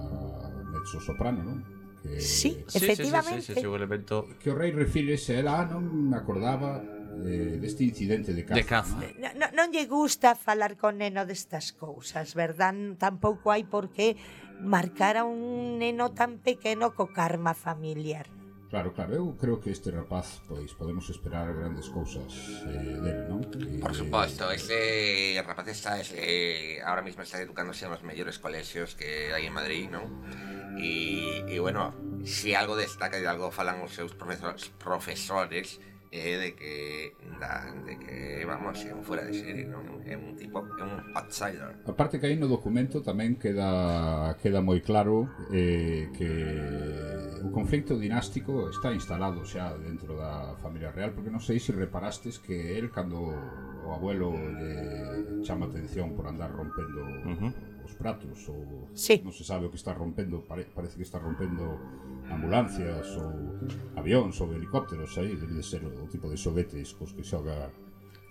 mezzo soprano, non? Que, sí, efectivamente. Sí, sí, sí, sí, sí, elemento... Que o rei refírese, ela ah, non me acordaba eh, deste incidente de caza. De caza. No, no, non lle gusta falar con neno destas cousas, verdad? Tampouco hai por que marcar a un neno tan pequeno co karma familiar. Claro, claro, eu creo que este rapaz, pois, podemos esperar grandes cousas eh, del, non? Que, por suposto, este rapaz está, eh, ahora mismo está educándose en los mellores colexios que hai en Madrid, non? E, e bueno, si algo destaca e de algo falan os seus profesores, profesores é de que da, de que vamos, é un fuera de serie, non? É un tipo, é un outsider. Aparte que aí no documento tamén queda queda moi claro eh, que o conflito dinástico está instalado xa dentro da familia real, porque non sei se reparastes que el cando o o abuelo lle chama atención por andar rompendo uh-huh. os pratos ou sí. non se sabe o que está rompendo, pare, parece que está rompendo ambulancias ou avións ou helicópteros, aí debe de ser o tipo de xoguetes cos que xoga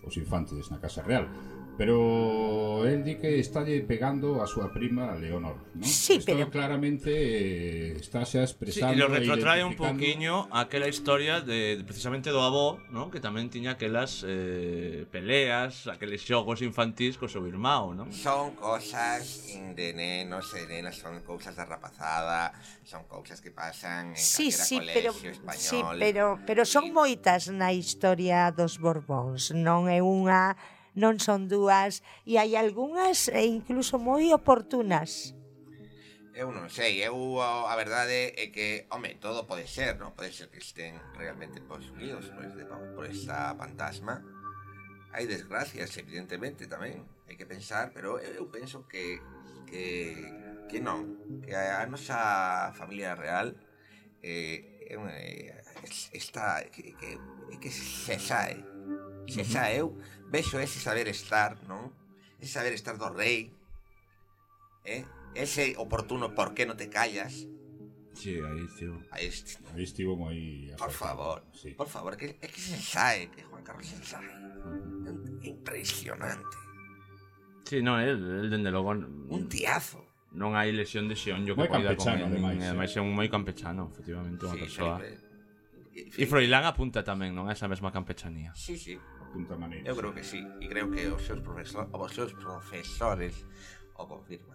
os infantes na Casa Real. Pero él di que está pegando a súa prima Leonor, ¿no? Sí, Esto pero claramente eh, está xa expresando. Sí, e lo retrotrae un identificando... pouquiño aquela historia de, de precisamente do avó, ¿no? Que tamén tiña aquelas eh, peleas, aqueles xogos infantís co seu irmão, ¿no? Son cosas de nenos e de nenas, son cousas da rapazada, son cousas que pasan en sí, sí, colegio pero, español. sí, pero, pero son moitas na historia dos Borbóns, non é unha... non son dúas, e hai algunhas e incluso moi oportunas. Eu non sei, eu a verdade é que, home, todo pode ser, non? Pode ser que estén realmente posuídos por, este, por esta fantasma. Hai desgracias, evidentemente, tamén, hai que pensar, pero eu penso que que, que non, que a nosa familia real eh, eh, está, que, que, que se sae, se sae, eu vexo ese saber estar, non? Ese saber estar do rei, eh? Ese oportuno por que non te callas. Sí, aí estivo. Aí estivo. Aí estivo moi... Por favor, sí. Por favor, que, é que se sae, que Juan Carlos se sae. Impresionante. Sí, non, el, el dende logo... Un tiazo. Non hai lesión de xeonllo que poida con el. Ademais é un moi campechano, efectivamente, unha persoa. E Froilán apunta tamén, non? A esa mesma campechanía. Sí, sí. Apunta maneira. Eu creo que sí, e creo que os seus, profesor, os seus profesores o confirman.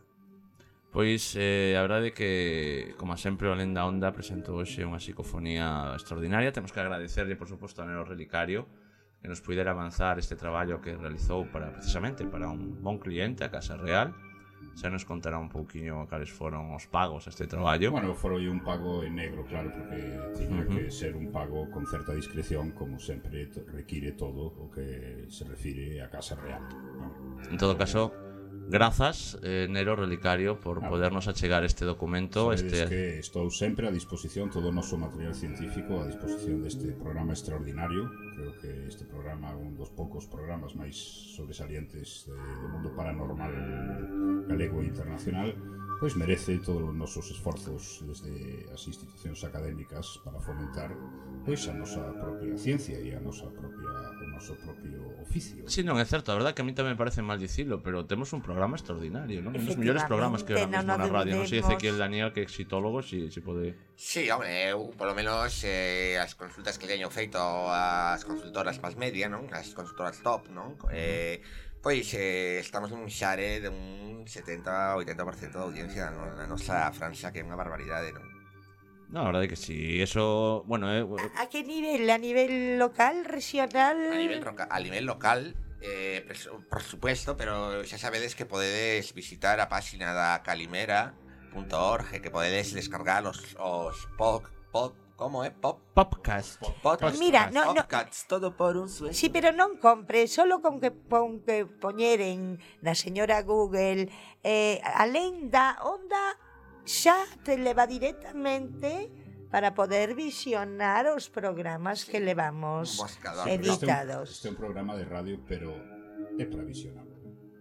Pois, eh, a verdade é que, como sempre, o Lenda Onda presentou hoxe unha psicofonía extraordinaria. Temos que agradecerlle, por suposto, a Nero Relicario que nos puidera avanzar este traballo que realizou para, precisamente, para un bon cliente, a Casa Real. Xa nos contará un pouquiño cales foron os pagos a este traballo. Bueno, foi un pago en negro, claro, porque tiña uh-huh. que ser un pago con certa discreción, como sempre require todo o que se refire a Casa Real, ¿no? En todo caso, grazas, eh, Nero Relicario, por ah, podernos achegar este documento. Sabedes este... que estou sempre a disposición, todo o noso material científico a disposición deste programa extraordinario. Creo que este programa é un dos poucos programas máis sobresalientes de, do mundo paranormal galego e internacional, pois merece todos os nosos esforzos desde as institucións académicas para fomentar pois a nosa propia ciencia e a nosa propia, o noso propio oficio. Sí, non, é certo, a verdade que a mí tamén me parece mal dicilo, pero temos un programa extraordinario, non? Un dos mellores programas que ahora mesmo na radio. Non sei dice que el Daniel, que é exitólogo, si, si pode... Sí, home, eu, polo menos, eh, as consultas que teño feito as consultoras más media, non? As consultoras top, non? Eh, pois eh, estamos nun xare de un setenta a oitenta por cento de audiencia na nosa franxa, que é unha barbaridade, non? No, la verdad é que sí, eso, bueno... Eh, ¿A, ¿A qué nivel? ¿A nivel local, regional? A nivel, a nivel local, eh, por supuesto, pero xa sabedes que podedes visitar a página da calimera punto org, que podedes descargar os, os pod, pod, como é? Pop? Podcast. Podcast. Mira, no, no, Podcasts, todo por un sueño. Sí, pero non compre, solo con que, con que poñeren na señora Google eh, a Lenda Onda xa te leva directamente para poder visionar os programas que levamos editados. Este é un programa de radio, pero é para visionar.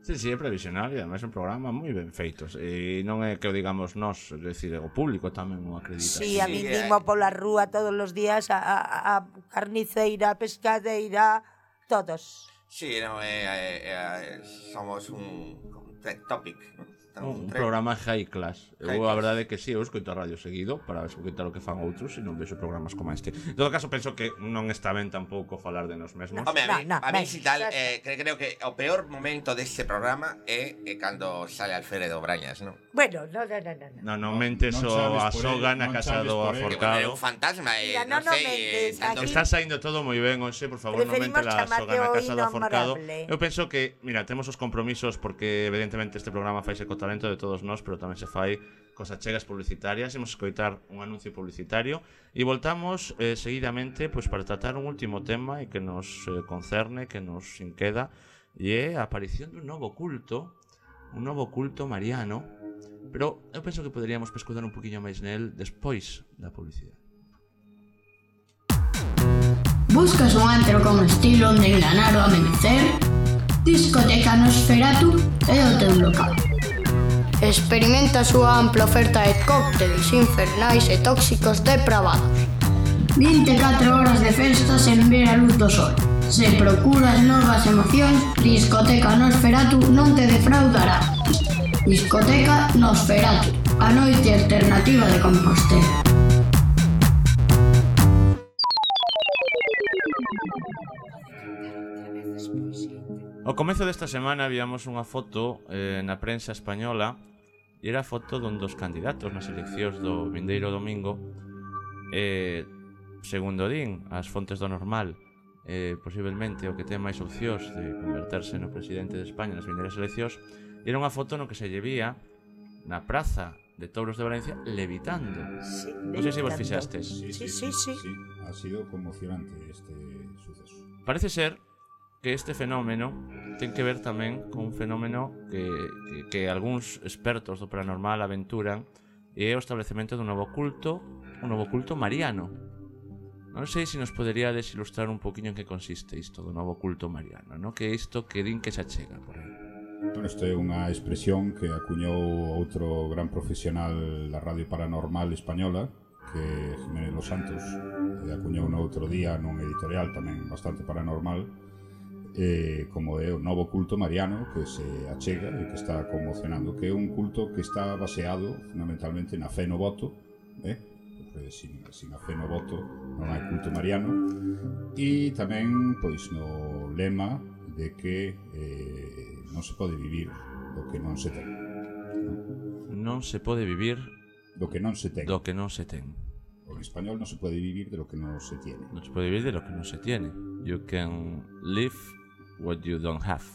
Sí, sí, é previsional e además é un programa moi ben feitos. E non é que o digamos nós, é dicir, o público tamén o acredita. Sí, a mí dimo pola rúa todos os días a, a, a carniceira, a pescadeira, todos. Sí, no, eh, eh, eh, somos un, un topic, ¿no? Un, un programa high class. High eu, a verdade é que si, sí, eu escoito a radio seguido para escoitar o que fan outros e non vexo programas como este. En todo caso, penso que non está ben tampouco falar de nos mesmos. Home, a mí, no, no, a mí si tal, eh, creo que o peor momento deste programa é eh, cando sale Alfredo Brañas, non? Bueno, no, no, no, no. No, non mentes o a soga na casa do aforcado. É un fantasma, eh, Mira, non no, sei. No, está saindo todo moi ben, hoxe, por favor, non mente la soga na casa do aforcado. Eu penso que, mira, temos os compromisos porque evidentemente este programa faise co talento de todos nós, pero tamén se fai cos achegas publicitarias. Imos escoitar un anuncio publicitario e voltamos eh, seguidamente pois, para tratar un último tema e que nos eh, concerne, que nos inqueda, e é a aparición dun novo culto, un novo culto mariano, pero eu penso que poderíamos pescudar un poquinho máis nel despois da publicidade. Buscas un antro con estilo onde enganar o amenecer? Discoteca Nosferatu é o teu local. Experimenta a súa ampla oferta de cócteles infernais e tóxicos depravados. vinte e catro horas de festa sen ver a luz do sol. Se procuras novas emocións, Discoteca Nosferatu non te defraudará. Discoteca Nosferatu, a noite alternativa de Compostela. Ao comezo desta semana víamos unha foto eh, na prensa española e era a foto dun dos candidatos nas eleccións do vindeiro domingo. eh, Segundo din as fontes do Normal, eh, posiblemente o que ten máis opcións de converterse no presidente de España nas vindeiras eleccións. Era unha foto no que se lle vía na praza de Touros de Valencia levitando. Sí, non sei se vos fixastes. Sí, sí, sí, sí, sí. Ha sido conmocionante este suceso. Parece ser que este fenómeno ten que ver tamén con un fenómeno que, que, que algúns expertos do paranormal aventuran, e é o establecemento dun novo culto, un novo culto mariano. Non sei se nos poderíades ilustrar un poquinho en que consiste isto do novo culto mariano, no? Que é isto que din que xa chega por aí. Bueno, isto é unha expresión que acuñou outro gran profesional da radio paranormal española, que é Jiménez Los Santos, e acuñou no outro día nun editorial tamén bastante paranormal, eh, como é o novo culto mariano que se achega e que está conmocionando, que é un culto que está baseado fundamentalmente na fe no voto, eh? Porque sin, sin a fe no voto non hai culto mariano, e tamén pois no lema de que eh, non se pode vivir do que non se ten, non? Non se pode vivir do que non se ten. Do que non se ten. En español non se pode vivir de lo que non se tiene. Non se pode vivir de lo que non se tiene. You can live what you don't have.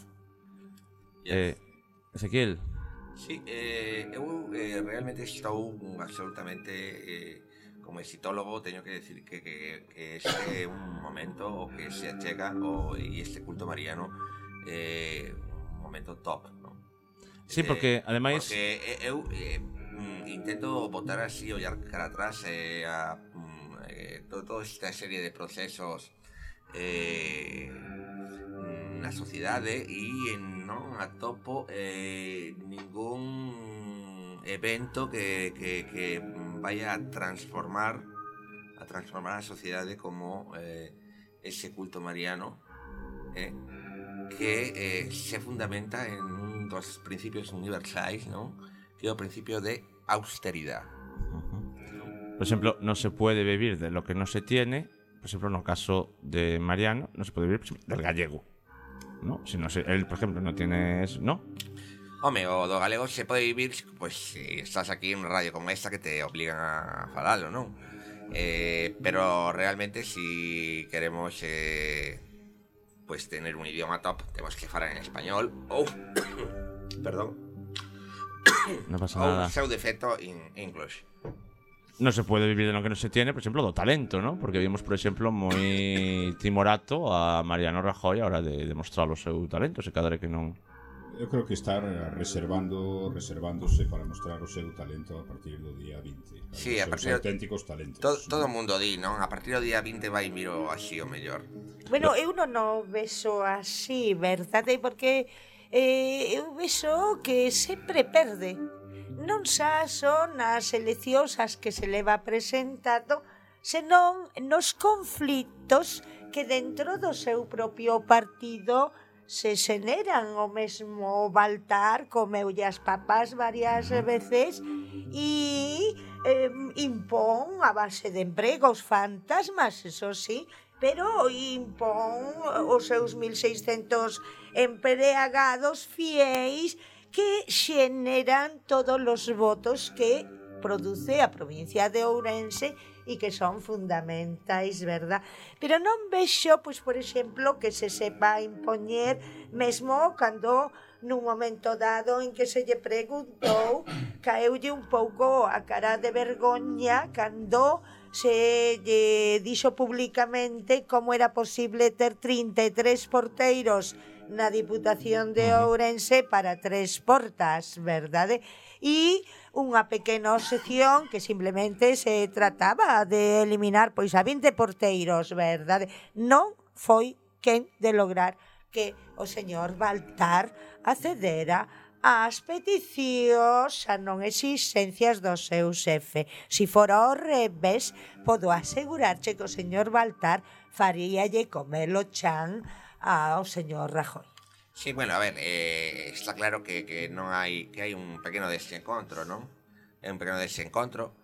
Yes. Eh, Ezequiel. Sí, eh, eu eh, realmente estou absolutamente eh, como exitólogo, teño que decir que, que, que este é un momento o que se achega o, e este culto mariano eh, un momento top, ¿no? Sí, porque eh, ademais porque eu eh, intento botar así, ollar cara atrás eh, a eh, toda esta serie de procesos eh, na sociedade e non atopo eh, ningún evento que, que, que vaya a transformar a transformar a sociedade como eh, ese culto mariano eh, que eh, se fundamenta en un dos principios universais, ¿no? Que é o principio de austeridade. Por exemplo, non se pode vivir de lo que non se tiene. Por exemplo, no caso de Mariano, non se pode vivir, por exemplo, del gallego, ¿no? Si no se, él, por ejemplo, no tiene eso, ¿no? Home, o do galego se pode vivir, pues, si estás aquí en unha radio como esta que te obligan a falalo, non? Eh, pero realmente, si queremos eh, pues tener un idioma top, tenemos que falar en español ou, perdón, no pasa ou nada. o seu defecto in English. Non se pode vivir de lo que non se tiene, por exemplo, do talento, ¿no? Porque vimos, por exemplo, moi timorato a Mariano Rajoy a hora de demostrar o seu talento, se cadre que non... Eu creo que estar reservando, reservándose para mostrar o seu talento a partir do día vinte. Sí, a partir dos auténticos talentos. Todo, todo o mundo di, non? A partir do día vinte vai miro así o mellor. Bueno, eu non o vexo así, verdade? Porque eh, eu vexo que sempre perde. Non xa son as eleccións as que se leva presentado, senón nos conflitos que dentro do seu propio partido se xeneran. O mesmo Baltar comeulle as papas varias veces e eh, impón a base de empregos fantasmas, eso sí, pero impón os seus mil seiscentos empregados fiéis que xeneran todos os votos que produce a provincia de Ourense e que son fundamentais, verdad? Pero non vexo, pois, por exemplo, que se sepa impoñer mesmo cando nun momento dado en que se lle preguntou, caeulle un pouco a cara de vergoña cando se lle dixo públicamente como era posible ter trinta e tres porteiros na Diputación de Ourense para tres portas, verdade? E unha pequena sección que simplemente se trataba de eliminar pois a vinte porteiros, verdade? Non foi quen de lograr que o señor Baltar accedera ás peticións a non exigencias do seu xefe. Si fora ao revés, podo asegurarche que o señor Baltar faríalle comer o chan ao señor Rajoy. Sí, bueno, a ver, eh, está claro que, que non hai que hai un pequeno desencontro, non? É un pequeno desencontro,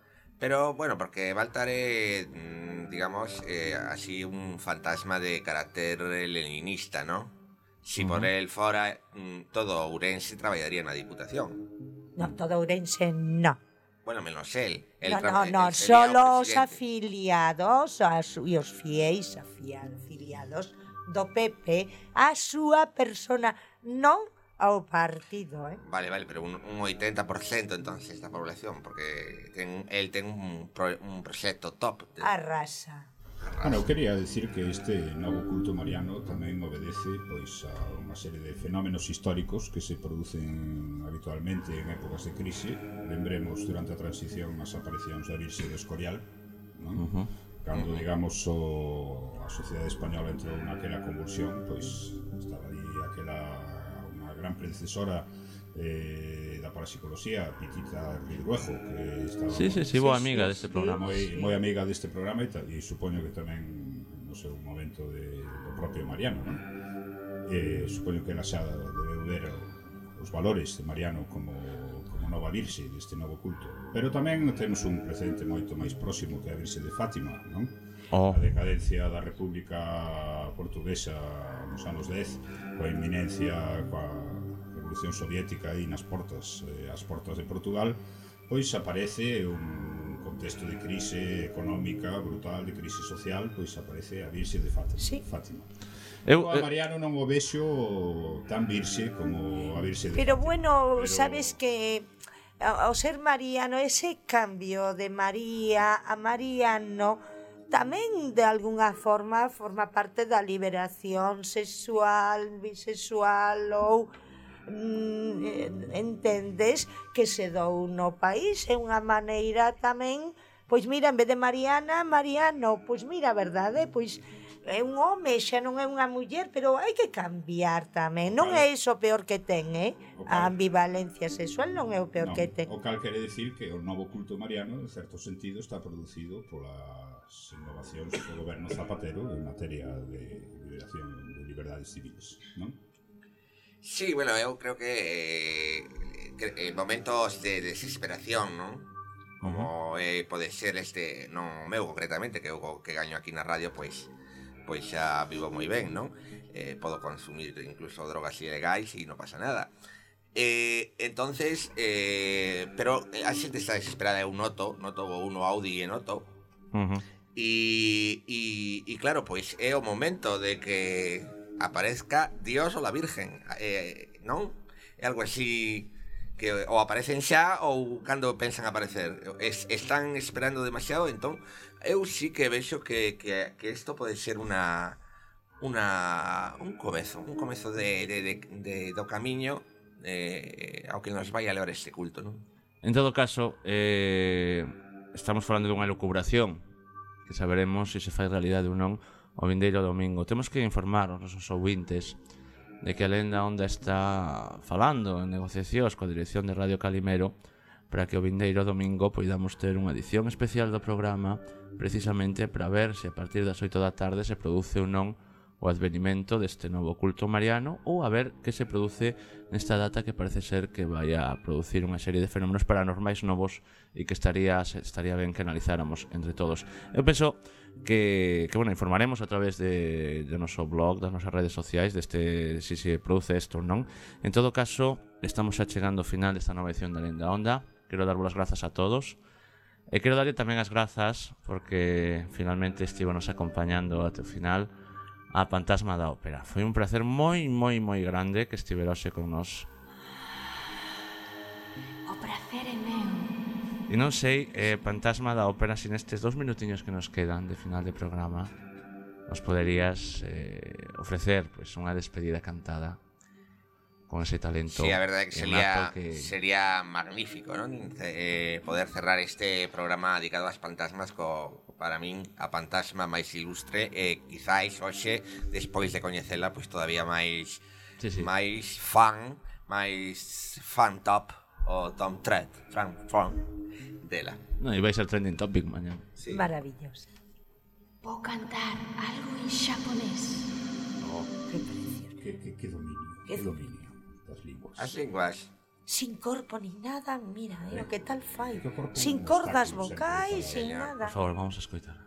pero, bueno, porque Baltar é, digamos, eh, así un fantasma de carácter leninista, non? Si por Uh-huh. el fora, todo Ourense traballaría na Diputación. Non, todo Ourense non. Bueno, menos él. El No, tra- no, no, él sería o solo os presidente. afiliados as, e os fiéis afia- afiliados do P P a súa persona, non ao partido, eh? Vale, vale, pero un, un oitenta por ciento entonces da población, porque ten, él ten un, pro, un proxecto top. De, Arrasa. Bueno, eu quería decir que este novo culto mariano tamén obedece pois a unha serie de fenómenos históricos que se producen habitualmente en épocas de crise. Lembremos durante a transición as aparicións da Virxe do Escorial, non? Uh-huh. Cando, digamos, o, a sociedade española entrou naquela convulsión, pois estaba ali aquela unha gran predecesora eh, da parapsicología, Pitita Ridruejo, que estaba Sí, sí, sí, boa amiga deste programa. moi, moi amiga deste programa e, ta, e supoño que tamén no seu momento de, do propio Mariano, non? Eh, supoño que ela xa debeu ver os valores de Mariano como, como nova virxe deste novo culto, pero tamén temos un precedente moito máis próximo que a Virxe de Fátima, non? Oh. A decadencia da República Portuguesa nos anos dez, coa inminencia, coa Revolución Soviética aí nas portas, eh, as portas de Portugal, pois aparece un contexto de crise económica brutal, de crise social, pois aparece a Virxe de Fátima. Sí. Fátima. Eu, Eu, a Mariano non o vexo tan virxe como a Virxe de Pero Fátima. bueno, Pero- sabes que ao ser mariano, ese cambio de María a Mariano tamén de algunha forma forma parte da liberación sexual, bisexual ou mm, entendes que se dou no país, é unha maneira tamén, pois mira, en vez de Mariana, Mariano, pois mira, a verdade, pois é un home, xa non é unha muller, pero hai que cambiar tamén. Non é iso o peor que ten, eh? A ambivalencia sexual non é o peor Non, que ten. o cal quere decir que o novo culto mariano, en certo sentido, está producido polas innovacións do goberno Zapatero en materia de liberación de liberdades civiles, non? Sí, bueno, eu creo que, eh, que en momentos de desesperación, non? Como eh, pode ser este, non meu concretamente, que eu que gaño aquí na radio, pois pois xa vivo moi ben, non? Eh, podo consumir incluso drogas ilegais e non pasa nada. Eh, entonces, eh, pero a xente está desesperada, eu noto, noto uno Audi e noto. Uh-huh. E, e, e claro, pois é o momento de que aparezca Dios ou la Virgen, eh, non? É algo así que ou aparecen xa ou cando pensan aparecer. Es, están esperando demasiado, entón eu sí que vexo que, que, que isto pode ser unha una un comezo, un comezo de, de, de, de do camiño eh, ao que nos vai a levar este culto, non? En todo caso, eh, estamos falando dunha lucubración que saberemos se se fai realidade ou non o vindeiro domingo. Temos que informar aos nosos ouvintes de que a Lenda Onda está falando en negociacións coa dirección de Radio Calimero para que o vindeiro domingo poidamos ter unha edición especial do programa precisamente para ver se a partir das oito da tarde se produce ou non o advenimento deste novo culto mariano ou a ver que se produce nesta data que parece ser que vai a producir unha serie de fenómenos paranormais novos e que estaría estaría ben que analizáramos entre todos. Eu penso que, que bueno, informaremos a través de, de noso blog, das nosas redes sociais deste, si se produce isto ou non. En todo caso, estamos xa chegando ao final desta nova edición da Lenda Onda. Quero darvos as grazas a todos e quero darlle tamén as grazas porque finalmente estivo nos acompañando até o final a Fantasma da Ópera. Foi un placer moi, moi, moi grande que estivera hoxe con nós. O prazer é meu. E non sei, eh, Fantasma da Ópera, sin estes dous minutiños que nos quedan de final de programa, nos poderías eh, ofrecer pues, unha despedida cantada con ese talento. Sí, a verdade que sería, que... sería magnífico, ¿no? Eh, poder cerrar este programa dedicado ás fantasmas co, para min a fantasma máis ilustre e quizáis hoxe, despois de coñecela, pois todavía máis sí, sí. máis fan, máis fan top o Tom Thread, fan fan dela. Non, e vai ser trending topic mañá. Sí. Maravilloso. Vou cantar algo en xaponés. Oh, que precioso. Que, que, que dominio, que dominio das linguas. As linguas. Sin corpo ni nada, mira, eh, o que tal fai. Sin cordas vocais, sin nada. Por favor, vamos a escoitar.